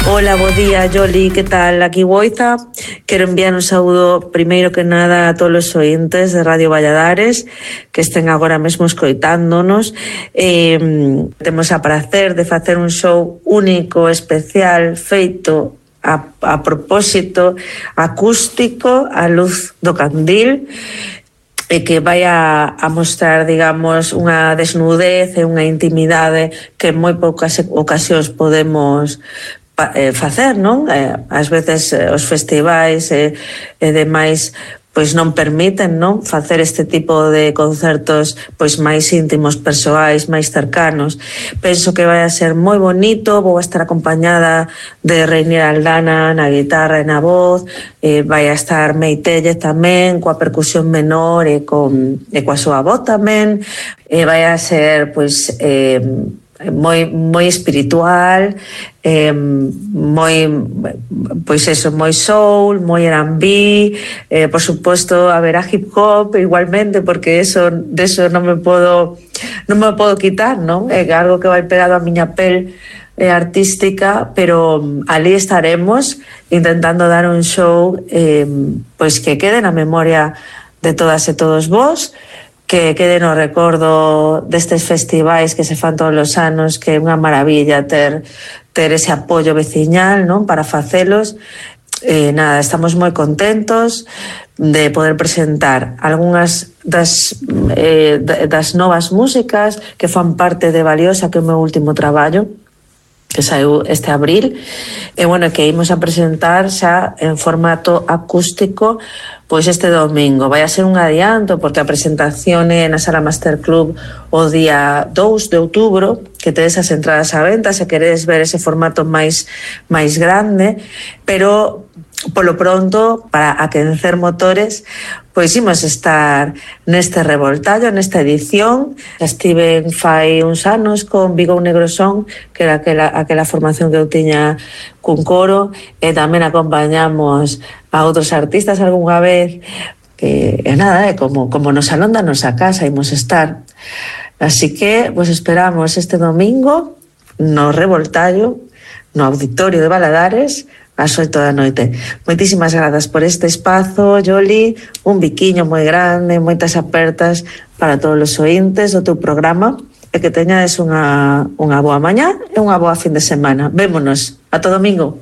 Hola, bo día, Yoli, que tal? Aquí Boiza. Quero enviar un saúdo, primeiro que nada, a todos os ointes de Radio Valladares que estén agora mesmo escoitándonos. Temos a prazer de facer un show único, especial, feito a propósito, acústico, a luz do candil, e que vai a mostrar, digamos, unha desnudez e unha intimidade que en moi poucas ocasións podemos facer, non? Ás veces os festivais e demais pois non permiten, non, facer este tipo de concertos pois máis íntimos, persoais, máis cercanos. Penso que vai a ser moi bonito, vou a estar acompañada de Reinier Aldana na guitarra e na voz, vai a estar Meitelle tamén coa percusión menor e coa súa voz tamén, vai a ser pois moi espiritual, moi, pois eso, moi soul, moi R&B, por suposto haberá hip hop igualmente, porque deso non me podo quitar, non? É algo que vai pegado a miña pel artística, pero ali estaremos intentando dar un show pois que quede na memoria de todas e todos vós, que quede no recordo destes festivais que se fan todos os anos, que é unha maravilla ter ese apoio veciñal, non, para facelos. Nada, estamos moi contentos de poder presentar algunhas das novas músicas que fan parte de Valiosa, que é o meu último traballo, que saiu este abril, e bueno, que imos a presentar xa en formato acústico pois este domingo. Vai a ser un adianto porque a presentación é na Sala Master Club o día 2 de outubro, que tedes as entradas á venta se queredes ver ese formato máis grande, pero polo pronto, para aquecer motores, pois imos estar neste revoltallo, nesta edición. Estive fai uns anos con Vigou Negro Son, que era aquela formación que eu tiña cun coro, e tamén acompañamos a outros artistas algunha vez, que nada, como no salón da nosa casa imos estar. Así que vos esperamos este domingo no revoltallo, no auditorio de Valadares, ás 8 da noite. Moitísimas grazas por este espazo, Yoli, un biquiño moi grande, moitas apertas para todos os ointes do teu programa, e que teñades unha boa mañá e unha boa fin de semana. Vémonos, ata domingo.